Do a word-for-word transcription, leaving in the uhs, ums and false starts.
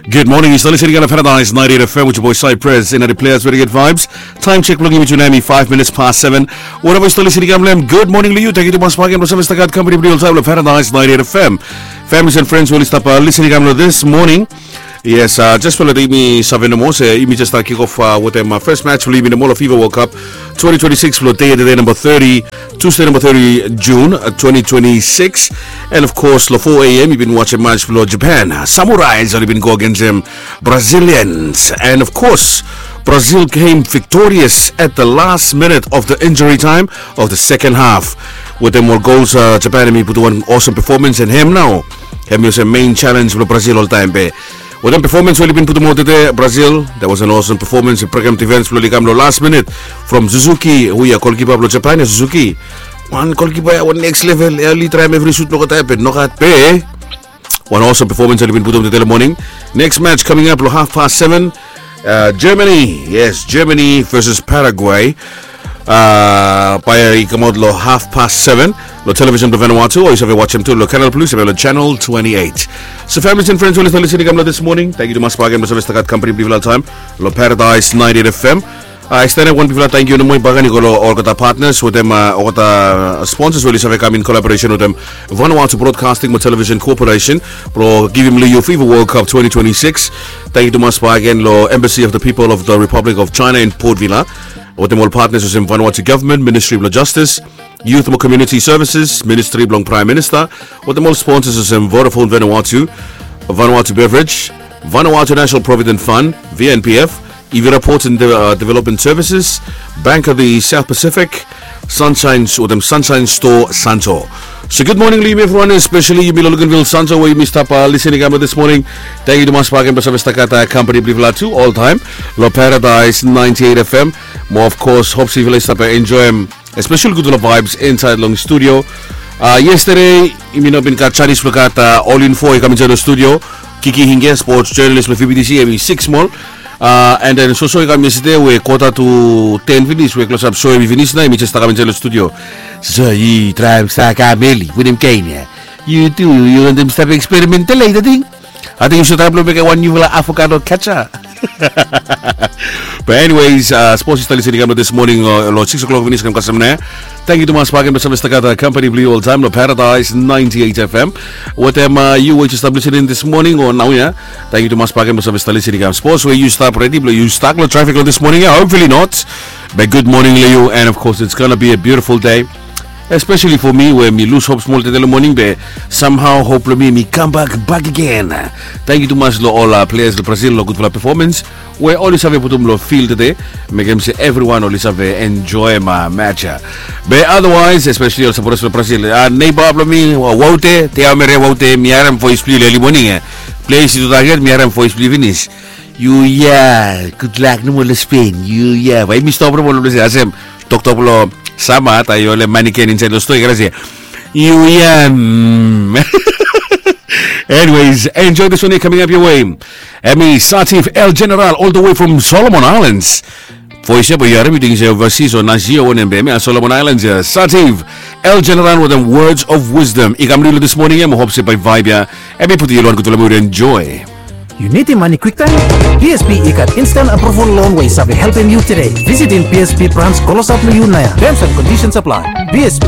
Good morning, yu stap listening long Paradise ninety-eight F M with your boy Cypress and the players with good vibes. Time check blong yumi tu nau hemi five minutes past seven. Wherever yu stap listening long hem, good morning long yu. Tangkiu tumas bakegen blong save stap gat kampani blong yu oltaem long Paradise ninety-eight F M. Families and friends we oli stap listening long this morning. Yes, just blong yumi save nomo se yumi just stap kick off wetem first match blong yumi nomo long FIFA World Cup twenty twenty-six blong dei tede namba thirty, Tuesday namba thirty June twenty twenty-six. And of course long four a.m. yu bin wajem match blong Japan Samurais oli bin go agensem Brazilians. And of course Brazil came victorious at the last minute of the injury time of the second half. Wetem ol gols Japan hemi putum wan awesome performance and hem nao hemi olsem main challenge blong Brazil oltaem be wetem performance we oli bin putum aot tede Brazil, that was an awesome performance. Brekem defense blong oli kam long last minute from Suzuki, we ya golkipa blong Japan ya Suzuki. Wan golkipa ya wan next level ya oli traem evri sut blong oltaem be nogat be wan awesome performance oli bin putum tede long moning. Next match coming up long half past seven. Germany, yes, Germany versus Paraguay. Bae i kamaot long half past seven long television blong Vanuatu o yu save wajem tu long Canal Plus, yu save long channel twenty-eight. So families and friends we oli stap listening long this morning, tangkiu tumas bakegen blong save stap gat kampani blong yufala oltaem long Paradise ninety-eight F M. I stanap wan bigfala tangkiu nomo bakegen i go long olgeta partners wetem olgeta sponsors we oli save kam in collaboration wetem Vanuatu Broadcasting mo Television Corporation blong givim long yu FIFA World Cup twenty twenty-six. Tangkiu tumas bakegen long Embassy of the People of the Republic of China in Port Vila wetem ol partners olsem Vanuatu Government, Ministry blong Justice, Youth mo Community Services, Ministry blong Praem Minista, wetem ol sponsors olsem Vodafone Vanuatu, Vanuatu Beverage, Vanuatu National Provident Fund, V N P F, Ivira Ports and Development Services, Bank of the South Pacific, Sunshine wetem Sunshine Store Santo. So good morning long yumi evriwan, especially yumi long Luganville Santo we yumi stap listening long this morning. Tangkiu tumas bakegen blong save stap gat kampani blong yufala tu oltaem long Paradise ninety-eight F M. Mo of course hope se yufala i stap enjoem especially gudfala vibes insaed long studio. Yestede yumi no bin gat janis blong gat All Info i kam insaed long studio. Kiki Hinge, sports journalist blong V B T C, hemi sik smol. And then soso i kam yestede we kota tu ten finis we klosap so hemi finis nao hemi jes stap kam insaed long studio. So yu traem stap kam eli wetem kaen ya. Yu tu yu wantem stap eksperimentel ya i ting. Ating yu save traem blong mekem wan niufala avocado ketchup. But anyways, spos yu stap listening long this morning long six o'clock finis kam kasem nao. Tangkiu tumas bakegen blong save stap gat kampani blong yu oltaem long Paradise ninety-eight F M. Wetem yu we yu stap listening this morning o naoia, tangkiu tumas bakegen blong save stap listening long spos we yu stap redi blong yu stak long trafik long this morning ya, hopefully not. Be good morning long yu and of course it's gonna be a beautiful day. Especially for mi we mi lus hop smol tede long moning be somehow hop blong mi mi kambak bakegen. Tangkiu tumas long ol players blong Brazil long gudfala performance we oli save putum long fil tede. Mekem se evriwan oli save enjoem match ya. Be otherwise especially ol sapotas blong Brazil, neiba blong mi Woute, Teomere Woute, mi harem voes blong yu long eli moning ya. Ples yu tu taget mi harem voes blong yu finis. Yu ya, gudlak nomo long Spain. Yu ya, bae yumi stop nomo long ples ya olsem toktok blong sama taem yu holem maniken insaed long stoa i kare se yu ya. Anyways, enjoy this one ya coming up your way. Hemi Sativ El General all the way from Solomon Islands. Voes ya bae yu harem yu ting se overseas o nasi o wanem be hemia Solomon Islands ya. Sativ El General wetem Words of Wisdom i kam long yu long this morning ya mo hop se bae vibe ya hemi putum yu long wan gudfala mud. Enjoy. Yu nidim mane kwiktaem? P S B i gat instant approval loan we i save helpem yu tede. Visitim P S B brans klosap long yu naoia. Terms and conditions apply. P S B,